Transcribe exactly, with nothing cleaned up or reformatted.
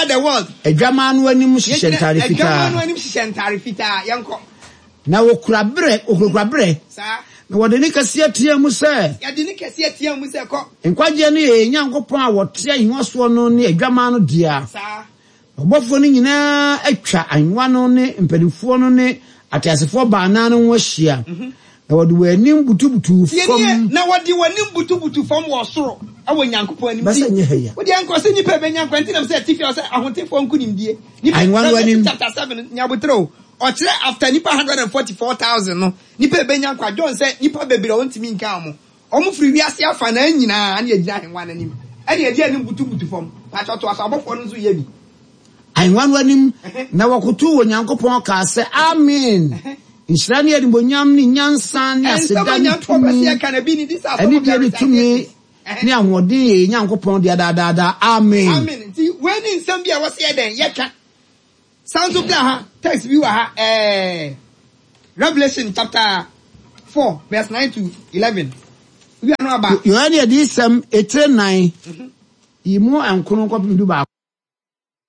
The world. Adwamaa no anim hyehyɛ ntade Adwamaa fitaa. No anim hyehyɛ ntare fitaa. Yɛnkɔ. Na wɔkura berɛ, wɔkurakura berɛ. Saa. Na wɔde ne kɛseɛ teɛ mu sɛ, Yɛde ne kɛseɛ teɛ mu sɛ, kɔ. Nkwagyeɛ no yɛ yɛn Nyankopɔn a wɔte ahengua soɔ no ne adwamaa no dea. Saa. Ɔbɔfoɔ no nyinaa atwa ahengua no ne mpanimfoɔ no ne ateasefoɔ baanan no ho ahyia. Na wɔde wɔn anim butubutu Tie nie. Fam. Na wɔde wɔn anim butubutu fam wɔ soro ɛwɔ Nyankopɔn anim. Bɛsɛ nyɛ ha yi a. Wode nkɔ sɛ nipa bɛnya nkwa nti nam sɛ atifi sɛ ahotefoɔ nkonimdie. Nipa Ahengua no anim. Revelation chapter seven nyabotere o, ɔkyerɛ after nipa hundred and forty four thousand no, nipa bɛnya nkwa. John sɛ nipa bebree a wɔntumi nka wɔn, wɔn firi wiase afa na nyinaa ne yɛgyina ahengua no anim ɛne yɛde anim butubutu fam. Pakyɛ to aso, abɔfoɔ no nso yɛ bi. Ahengua no anim na wɔkotow Onyankopɔn kaa sɛ, "Amen, nhyira ne animuonyam ne nyansa ne Ɛnsɛm aseda a ne Nyankopɔn pɛ sɛ tumi yɛka na bi ne di sɛ anidie ne tumi ne ahoɔden yɛ yɛn Nyankopɔn dea daadaadaa. Amen." Amen. Nti wei ne nsɛm bi a wɔsɛ yɛ dɛn yɛka san so bra ha. Text bi wɔ ha, ɛɛ Revelation chapter four verse nine to eleven. Wia no aba. Yohane adiyisɛm etire nan yi mu nkron kɔpem du baako.